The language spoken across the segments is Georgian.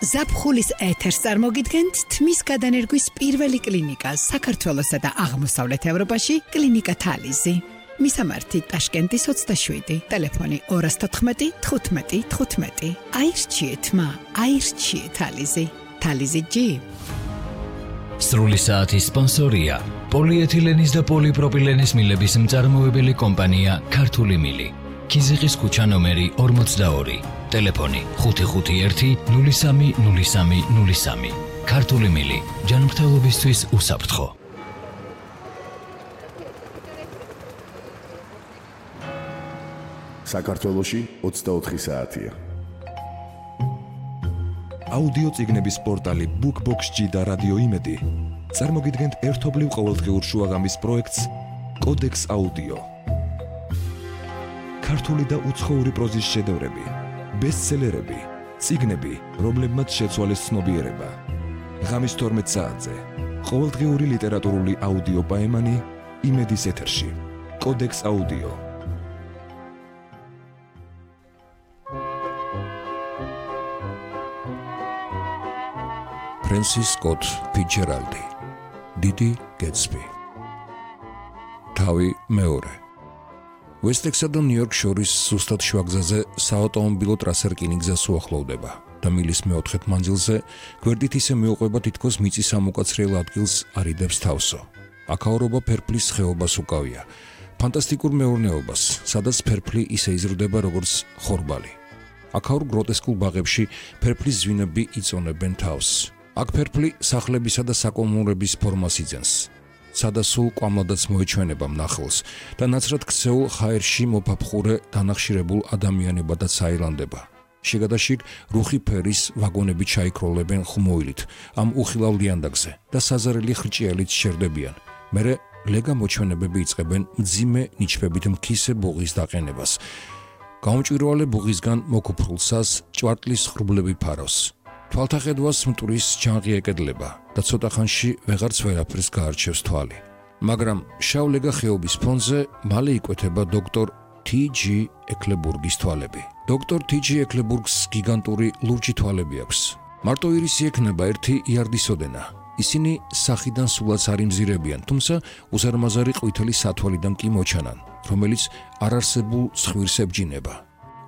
ზაფხულის ეთერს წარმოგიდგენთ თმის გადანერგვის პირველი კლინიკა საქართველოსა და აღმოსავლეთ ევროპაში კლინიკა თალიზი. მისამართი ტაშკენტის 27, ტელეფონი 214 15 15. აირჩიეთ მა, აირჩიეთ თალიზი. თალიზი G. სრული საათის სპონსორია პოლიეთილენის და პოლიპროპილენის მილების მწარმოებელი კომპანია ქართული მილი. კიზიყის ქუჩა ნომერი 42, ტელეფონი 551 03 03 03. ქართული მილი, ჯანმრთელობისთვის უსაფრთხო. საქართველოში 24 საათია. აუდიო წიგნების პორტალი BookBox-G და რადიო იმედი წარმოგიდგენთ ერთობლივ ყოველდღიურ შუაღამის პროექტს კოდექს აუდიო. ქართული და უცხოური პროზის შედევრები, ბესტსელერები, წიგნები, რომლებმაც შეცვალეს ცნობიერება. ღამის 12 საათზე ყოველდღიური ლიტერატურული აუდიო პაემანი იმედის ეთერში. კოდექს აუდიო. ფრენსის სკოტ ფიცჯერალდი, დიდი გეტსბი. თავი მეორე. ვესტექსა და ნიუ-იორკ შორის სუსტად შუაგზაზე საავტომობილო ტრასა რკინიგზას უახლოვდება და მილის მეოთხედ მანძილზე გვერდით ისე მიუყვება თითქოს მიწის ამოკაცრიელ ადგილს არიდებს თავსო. აქაურობა ფერფლის ხეობას უკავია, ფანტასტიკურ მეურნეობას, სადაც ფერფლი ისე იზრდება როგორც ხორბალი. აქაურ გროტესკულ ბაღებში ფერფლის ზვინები იწონებენ თავს. აქ ფერფლი სახლებისა და საკომუნების ფორმას იძენს. სადასულ კვამლადაც მოეჩვენება მნახველს და ნაცრად ქცეულ ჰაერში მოფაფხურე დანახშირებულ ადამიანებადაც აილანდება. შიგადაშიგ რუხი ფერის ვაგონები ჩაიქროლებენ ხმოილით ამ უხილავ ლიანდაგზე და საზარელი ხრჭიელით შერდებიან. მერე ლეგა მოჩვენებები იწყებენ მძიმე ნიჩბებით მქისე ბუღის დაყენებას. გაუმჭვირვალე ბუღისგან მოკუფრულსას ჭვარტლის ხრუბლები ფარავს. თვალთახედვას მტვრის ჯანღი ეკედლება და ცოტა ხანში ვეღარც ვერაფერს გაარჩევს თვალი. მაგრამ შავლეგა ხეობის ფონზე მალე იკვეთება დოქტორ T.G. ეკლებურგის თვალები. დოქტორ T.G. ეკლებურგს გიგანტური ლურჯი თვალები აქვს. მარტო ირისი ექნება 1 იარდის ოდენა. ისინი სახიდან სულაც არ იმზირებიან, თუმცა უზარმაზარი ყვითელი სათვალიდან კი მოჩანან, რომელიც არარსებულ ცხვირს ებჯინება.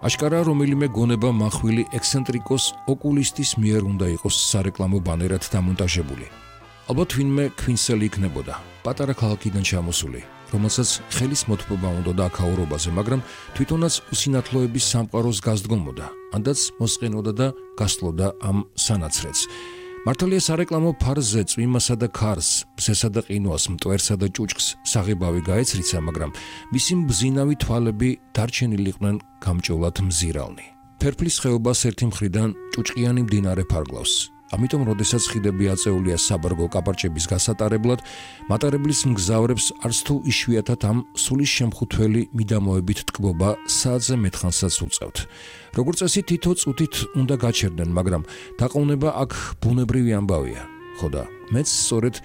აშკარა რომელიმე გონება მახვილი ექსცენტრიკოს ოკულისტის მიერ უნდა იყოს სარეკლამო ბანერად დამონტაჟებული. ალბათ ვინმე ქვინსელი იქნებოდა, პატარა ქალაქიდან ჩამოსული, რომელსაც ხელის მოთმობა უნდა აქაურობაზე, მაგრამ თვითონაც უსინათლოების სამყაროს გასდგომოდა, ანდაც მოსყენოდა და გასლოდა ამ სანაცრეთს. მართალია სარეკლამო ფარზე წვიმასა და ქარს, ბზესა და ყინვას, მტვერსა და ჭუჭკს საღებავი გაეცრიცა, მაგრამ მისი მბზინავი თვალები დარჩენილიყვნენ გამჭოლად მზირალნი. ფერფლის ხეობას ერთი მხრიდან ჭუჭყიანი მდინარე ფარგლავს. ამიტომ, როდესაც ხიდები აწეულია საბარგო კაპარჭების გასატარებლად, მატარებლის მგზავრებს არც თუ იშვიათად ამ სულის შემხუთველი მიდამოებით ტკბობა საათზე მეთხანსაც უწევთ. როგორც წესი თითო წუთით უნდა გაჩერდნენ, მაგრამ დაყოვნება აქ ბუნებრივი ამბავია. ხო და მეც სწორედ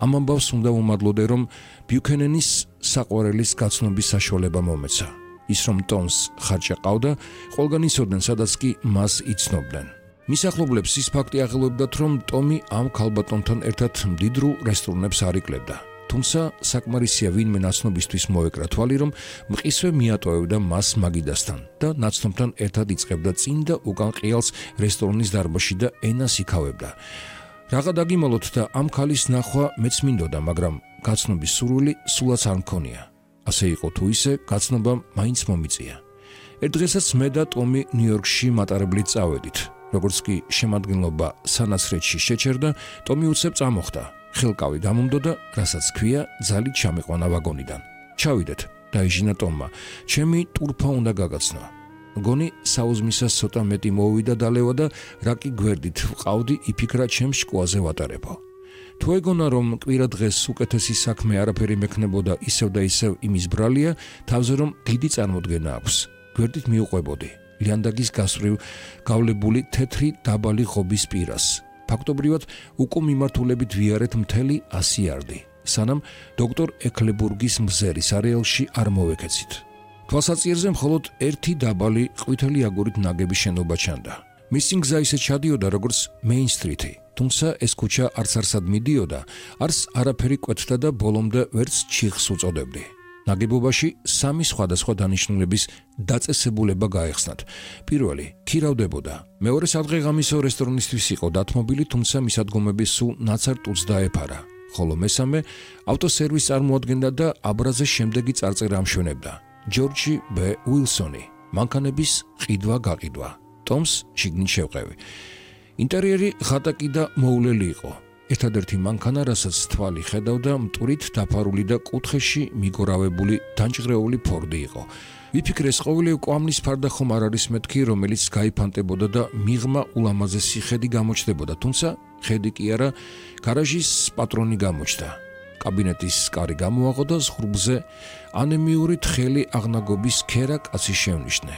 ამ ამბავს უნდა ვუმადლოდე, რომ ბიუქენენის საყვარელის გაცნობის საშუალება მომეცა. ის რომ ტომს ხარჭა ყავდა, ყველგან იცოდნენ, სადაც კი მას იცნობდნენ. მის ახლობლებს ის ფაქტი აღელვებდათ, რომ ტომი ამ ქალბატონთან ერთად მდიდრულ რესტორნებს არ იკლებდა. თუმცა საკმარისია ვინმე ნაცნობისთვის მოეკრა თვალი, რომ მყისვე მიატოვებდა მას მაგიდასთან და ნაცნობთან ერთად იწყებდა წინ და უკან ყიალს რესტორნის დარბაზში და ენას იქავებდა. რაღა დაგიმალოთ და ამ ქალის ნახვა მეც მინდოდა, მაგრამ გაცნობის სურვილი სულაც არ მქონია. ასე იყო თუ ისე, გაცნობა მაინც მომიწია. ერთ დღესაც მე და ტომი ნიუ-იორკში მატარებლით წავედით. როგორც კი შემადგენლობა სანაცრეთში შეჩერდა, ტომი უცებ წამოხდა. ხელკავი გამომდო და რასაც ქვია, ძალით ჩამიყვანა ვაგონიდან. ჩავიდეთ, დაიჟინა ტომმა. ჩემი ტურფა უნდა გაგაცნო. მგონი საუზმისას ცოტა მეტი მოვიდა დალევა და რა კი გვერდით ვყავდი, იფიქრა ჩემს შკოაზე ვატარებო. თუ ეგონა რომ კვირა დღეს უკეთესი საქმე არაფერი მექნებოდა ისევ და ისევ იმის ბრალია, თავზე რომ დიდი წარმოდგენა აქვს. გვერდით მიუყვებოდი. ლიანდაგის გასწვრივ გავლებული თეთრი დაბალი ღობის პირას. ფაქტობრივად უკო მიმართულებით ვიარეთ მთელი 100 იარდი, სანამ დოქტორ ეკლებურგის მზერის არეალში არ მოვეკეცით. თვალსაწიერზე მხოლოდ ერთი დაბალი ყვითელი აგურით ნაგები შენობა ჩანდა. მისი გზა ისე ჩადიოდა როგორც Main Street-ი, თუმცა ეს ქუჩა არც არსად მიდიოდა, არც არაფერი კვეთდა და ბოლომდე ვერც ჩიხს უწოდებდი. ნაგებობაში სამი სხვადასხვა დანიშნულების დაწესებულება გაეხსნათ. პირველი ქირავდებოდა, მეორე სადღეღამისო რესტორნისთვის იყო დათმობილი, თუმცა მისადგომები სულ ნაცარ-ტუც დაეფარა. ხოლო მესამე ავტოსერვისს წარმოადგენდა და აბრაზე შემდეგი წარწერა ამშვენებდა. ჯორჯი ბ. უილსონი, მანქანების ყიდვა-გაყიდვა. ტომს შიგნით შევყევი. ინტერიერი ღატაკი და მოულელი იყო. ერთადერთი მანქანა, რასაც თვალი ხედავდა, მტვრით დაფარული და კუთხეში მიგორავებული დანჭღრეული ფორდი იყო. ვიფიქრე, ეს ყოველი კვამლის ფარდა ხომ არ არის მეთქი, რომელიც გაიფანტებოდა და მიღმა ულამაზესი ხედი გამოჩნდებოდა, თუმცა ხედი კი არა, გარაჟის პატრონი გამოჩნდა. კაბინეტის კარი გამოაღო და ზღურბზე ანემიური თხელი აღნაგობის ქერა კაცი შევნიშნე,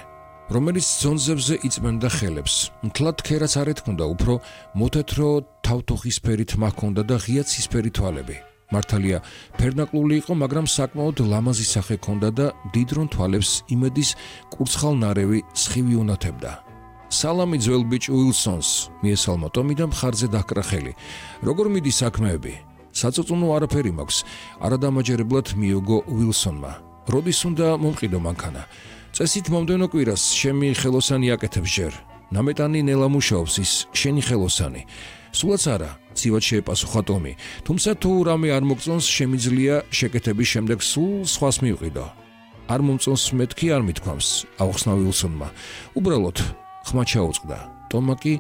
რომელიც ძონზებზე იწმენდა ხელებს. მთლად ქერაც არ ეთქუნდა, უფრო მოთეთრო თავთოხისფერი თმა ჰქონდა და ღია ცისფერი თვალები. მართალია, ფერნაკლული იყო, მაგრამ საკმაოდ ლამაზი სახე ჰქონდა და დიდრონ თვალებს იმედის კურცხალნარევი სხივი უნათებდა. სალამი ძველ ბიჭ უილსონს, მიესალმა ტომი და მხარზე დაჰკრა ხელი. როგორ მიდის საქმეები? საწუწუნო არაფერი მაქვს, არადამაჯერებლად მიოგო უილსონმა. როდის უნდა მომყიდო მანქანა? წესით მომდევნო კვირას შემი ხელოსანი აკეთებს ჯერ. ნამეტანი ნელა მუშაობს, ის შენი ხელოსანი. სულაც არა, ცივად შეეპასუხა ტომი, თუმცა თუ რამე არ მოგწონს, შემიძლია შეკეთების შემდეგ სულ სხვას მივყიდო. არ მომწონს მეთქი არ მithქვამს, აუხსნა უილსონმა. უბრალოდ ხმა ჩაუწყდა. ტომმა კი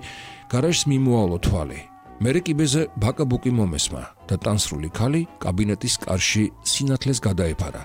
გარაჟს მიმოავლო თვალი. მერე კიბეზე ბაკაბუკი მომესმა და ტანსრული ქალი კაბინეტის კარში სინათლეს გადაეფარა.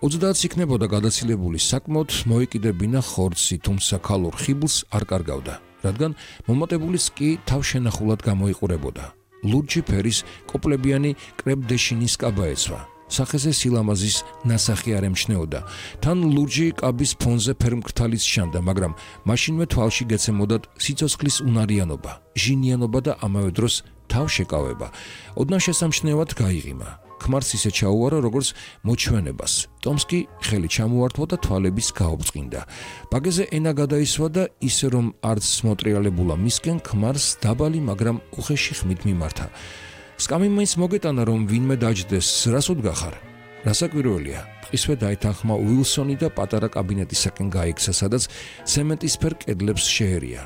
30 იქნებოდა გადაცილებული, საკმაოდ მოეკიდებინა ხორცი, თუმცა ქალურ ხიბლს არ კარგავდა, რადგან მომატებულის კი თავშენახულად გამოიყურებოდა. ლურჯი ფერის კოპლებიანი კრებდეშინის კაბა ეცვა. სახეზე სილამაზის ნასახი არ ემჩნეოდა. თან ლურჯი კაბის ფონზე ფერმკრთალიც შანდა, მაგრამ მაშინვე თვალში გეცემოდათ სიცოცხლის უნარიანობა, ჟინიანობა და ამავე დროს თავშეკავება. ოდნავ შესამჩნევად გაიღიმა. ქმარს ისე ჩაუარა, როგორც მოჩვენებას. ტომს კი ხელი ჩამოართვა და თვალების გაობწყინდა. ბაგეზე ენა გადაისვა და ისე რომ არც მოტრიალებულა მისკენ, ქმარს დაბალი, მაგრამ უხეში ხმით მიმართა. სკამი მაინც მოგეტანა, რომ ვინმე დაჯდეს, რას უდგახარ? რასაკვირველია, ტყისვე დაითანხმა უილსონი და პატარა კაბინეტისაკენ გაიქცა, სადაც ცემენტისფერ კედლებს შეერია.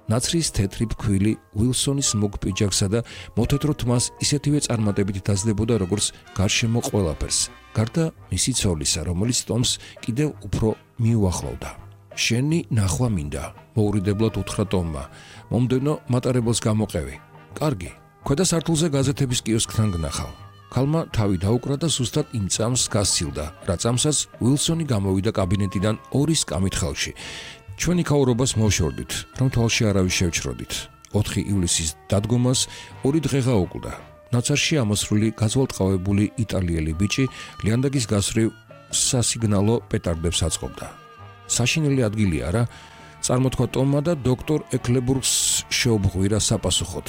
ნაცრის თეთრი ფქვილი უილსონის მოგ პიჯაკსა და მოთეთრო თმას ისეთივე წარმატებით დაძლებოდა, როგორც გარშემო ყველაფერს, გარდა მისი ცოლისა, რომელიც ტომს კიდევ უფრო მიუახლოვდა. შენი ნახვა მინდა, მოურიდებლად უთხრა ტომმა. მომდევნო მატარებელს გამოყევი. კარგი. ქვედა სართულზე გაზეთების კიოსკთან გნახავ. ქალმა თავი დაუკრა და სუსტად იმ წამს გასცილდა, რა წამსაც უილსონი გამოვიდა კაბინეტიდან ორი სკამით ხელში. ჩვენი ქაურობას მოვშორდით, რომ თვალში არავის შევჩროდით. 4 ივლისის დადგომას 2 დღე გაუკვდა. ნაცარში ამოსრული გაზვალტყავებული იტალიელი ბიჭი ლიანდაგის გასწრივ სასიგნალო პეტარდებს აწყობდა. საშინელი ადგილი არა, წარმოთქვა ტომმა და დოქტორ ეკლებურგს შეუბრღვირა საპასუხოდ.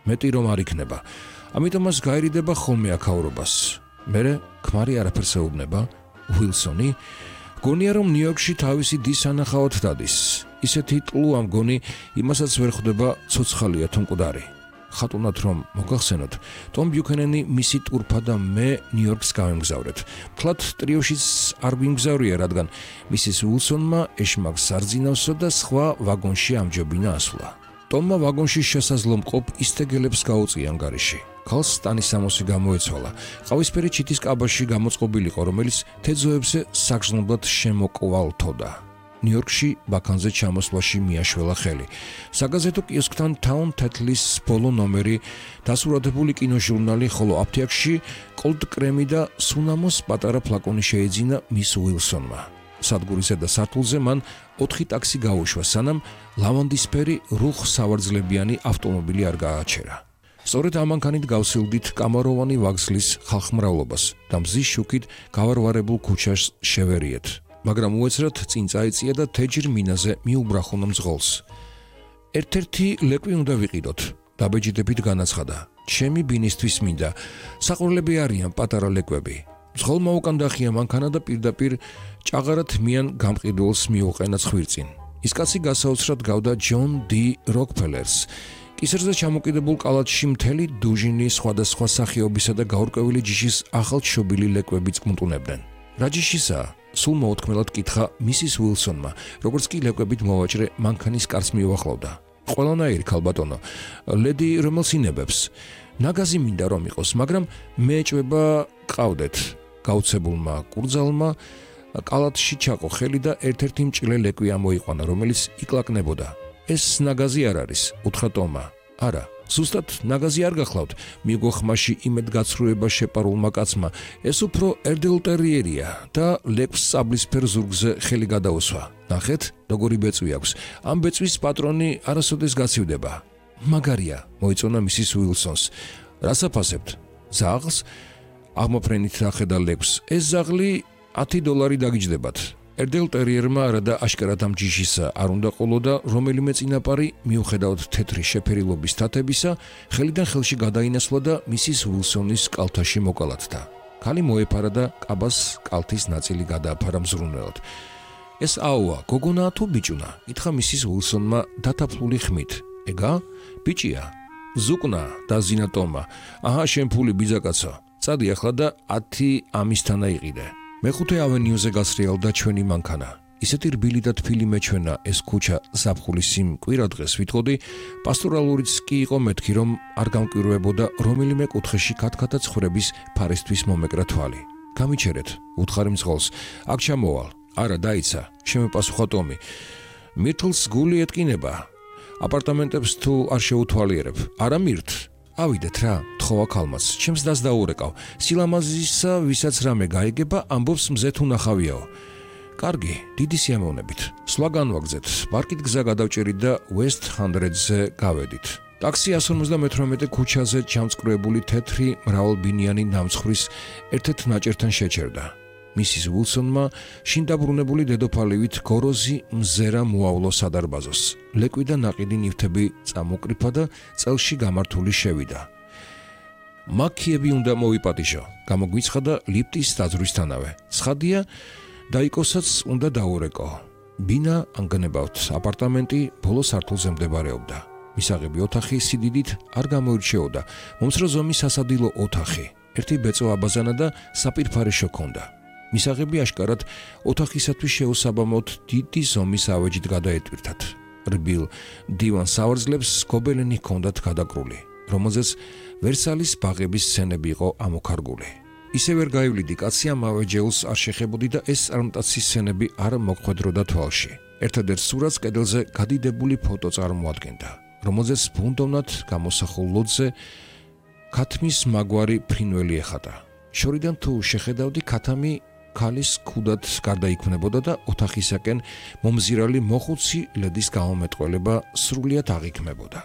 მეტი რომ არ იქნება. ამიტომ მას გაერიდება ხოლმე აქაურობას. მერე ქმარი არაფერს ეუბნება. უილსონი გონია, რომ ნიუ-იორკში თავისი დის ანახავად დადის. ისეთი ტლუა მგონი, იმასაც ვერ ხვდება ცოცხალია თუ მკვდარი. ხატუნად რომ მოგახსენოთ, ტომ ბიუქენენი მისი ტურფა და მე ნიუ-იორკს გავემგზავრეთ. მთლად ტრიოშიც არ გვიმგზავრია, რადგან მისის უილსონმა ეშმაკს სარძინავსო და სხვა ვაგონში ამჯობინა ასვლა. ტომმა ვაგონში შესაძლო მყოფ ისტეგელებს გაუწია ანგარიში. ქალს სტანისამოსი გამოეცვალა. ყავისფერი ჩიტის კაბაში გამოწყობილიყო, რომელიც თეძოებზე საგრძნობლად შემოკვალთოდა. ნიუ-იორკში ბაქანზე ჩამოსვლაში მიაშველა ხელი. საგაზეთო კიოსკთან Town Tatlis ბოლო ნომერი, დასურათებული კინოჟურნალი, ხოლო აფთიაქში კოლდ-კრემი და სუნამოს პატარა ფლაკონი შეეძინა მის უილსონმა. სადგურის ზედა სართულზე მან 4 ტაქსი გაუშვა, სანამ ლავანდისფერი რუხ სავარძლებიანი ავტომობილი არ გააჩერა. სწორედ ამ მანქანით გავსილდით კამაროვანი ვაგზლის ხალხმრავლობას და მზის შუქით გავარვარებულ ქუჩას შევერიეთ. მაგრამ უეცრად წინ წაიწია და თეჯირ მინაზე მიუბრახუნა მძღოლს. ერთ-ერთი ლეკვი უნდა ვიყიდოთ, დაბეჯიდებით განაცხადა. ჩემი ბინისთვის მინდა. საყურლები არიან პატარა ლეკვები. მძღოლმა უკან დახია მანქანა და პირდაპირ ჭაღარად მიან გამყიდველს მიუყენა ცხვირწინ. ის კაცი გასაოცრად გავდა ჯონ დი როკფელერს. კისერზე ჩამოკიდებულ კალათში მთელი დუჟინი სხვადასხვა სახეობისა და გაურკვეველი ჯიშის ახალშობილი ლეკვებიც კმტუნებდნენ. რა ჯიშისა? სულ მოუთქმელად კითხა მისის უილსონმა, როგორც კი ლეკვებით მოვაჭრე მანქანის კარს მიუახლოვდა. ყველანაირი ქალბატონო, ლედი რომელს ინებებს. ნაგაზი მინდა რომ იყოს, მაგრამ მეეჭვება ყავდეთ. გაუცებულმა კურძალმა კალათში ჩაყო ხელი და ერთ-ერთი მჭრელი ლეკვი ამოიყვანა, რომელიც იკლაკნებოდა. ეს ნაგაზი არ არის, უთხრა ტომმა. არა, ზუსტად ნაგაზი არ გახლავთ, მიიღო ხმაში იმედგაცრუება შეპარულმა კაცმა. ეს უფრო ერდელტერიერია და ლეკვს სწავლისფერ ზურგზე ხელი გადაუსვა. ნახეთ, როგორი ბეწვი აქვს. ამ ბეწვის პატრონი არასოდეს გაცივდება. მაგარია, მოიწონა მისის უილსონს. რას აფასებთ? ზაღლს? აღმოფრენით ახედა ლეკვს. ეს ზაღლი $10 დაგიჯდებათ. ერდელტერიერმა არადა აშკარად ამ ჯიშისა არ უნდა ყოლოდა რომელიმე წინაპარი მიუხედავად თეთრი შეფერილობის თათებისა ხელიდან ხელში გადაინასვლა და მისის უილსონის კალთაში მოკალათდა. ქალი მოეფარა და კაბას კალთის ნაწილი გადააფარა მზრუნველად. ეს აუა, გოგონაა თუ ბიჭუნა? ითხრა მისის უილსონმა დათაფლული ხმით. ეგა? ბიჭია. ზუკნა დაზინა ტომმა. აჰა, შენ ფული ბიძაკაცო. წადი ახლა და 10 ამისთანა იყიდე. მეხუთე ავენიუზე გასრიალდა ჩვენი მანქანა. ისეთი რბილი და თბილი მეჩვენა ეს ქუჩა ზაფხულის იმ კვირა დღეს ვითხოვდი, პასტორალურიც კი იყო მეთქი, რომ არ გამკვირვებოდა რომელიმე კუთხეში ქათქათა ცხრების ფარისთვის მომეკრა თვალი. გამიჩერეთ, უთხარი მძღოლს, აქ ჩამოვალ. არა, დაიცა, შემეპასუხა ტომი. მირთლს გული ეტკინება. აპარტამენტებს თუ არ შეუთვალიერებ, არა მირთ. ავიდეთ რა, თხოვა ქალმაც, ჩემს დას დაურეკავ. სილამაზისა, ვისაც რამე გაიგება, ამბობს მზე თუ ნახავიაო. კარგი, დიდი სიამოვნებით. სვლა განვაგზეთ, პარკით გზა გადავჭერით და West 100-ზე გავედით. ტაქსი 158 ქუჩაზე ჩამწკრივებული თეთრი მრავალბინიანი ნამცხვრის ერთ-ერთ ნაჭერთან შეჩერდა. მისის უილსონმა შინ დაბრუნებული დედოფალივით გოროზი მზერა მოავლო სადარბაზოს. ლეკვი და ნაყიდი ნივთები წამოკრიფა და წელში გამართული შევიდა. მაქიები უნდა მოვიპატიშო, გამოგვიცხადა ლიფტის დაძვრისთანავე. ცხადია, დაიკოსაც უნდა დაურეკო. ბინა ანგნებავთ, აპარტამენტი ბოლო სართულზე მდებარეობდა. მისაღები ოთახი სიდიდით არ გამოირჩეოდა. მომცრო ზომის სასადილო ოთახი, ერთი ბეწო აბაზანა და საპირფარეშო ჰქონდა. მისაღები აშკარად ოთახისათვის შეუსაბამოდ დიდი ზომის ავეჯით გადაეტვირთათ. რბილ დივან სავარძლებს გობელენი ჰქონდათ გადაკრული, რომელზეც ვერსალის ბაღების სცენები იყო ამოქარგული. ისე ვერ გაივლიდი კაცი ამ ავეჯეულს არ შეხებოდი და ეს წარმტაცი სცენები არ მოხვედროდა თვალში. ერთადერთ სურათს კედელზე გადიდებული ფოტო წარმოადგენდა, რომელზეც ბუნდოვნად გამოსახულ ლოდზე ქათმის მაგვარი ფრინველი ეხატა. შორიდან თუ შეხედავდი, ქათამი ქალის ქუდად გარდაიქმნებოდა და ოთახისაკენ მომზირალი მოხუცი ლედის გამომეტყველება სრულიად აღიქმებოდა.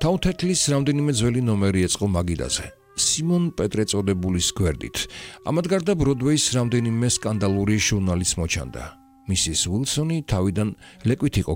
თავთეთლის რამდენიმე ძველი ნომერი ეწყო მაგიდაზე. სიმონ პეტრე წოდებულის გვერდით. ამად გარდა ბროდვეის რამდენიმე სკანდალური ჟურნალიც მოჩანდა. მისის უილსონი თავიდან ლეკვით იყო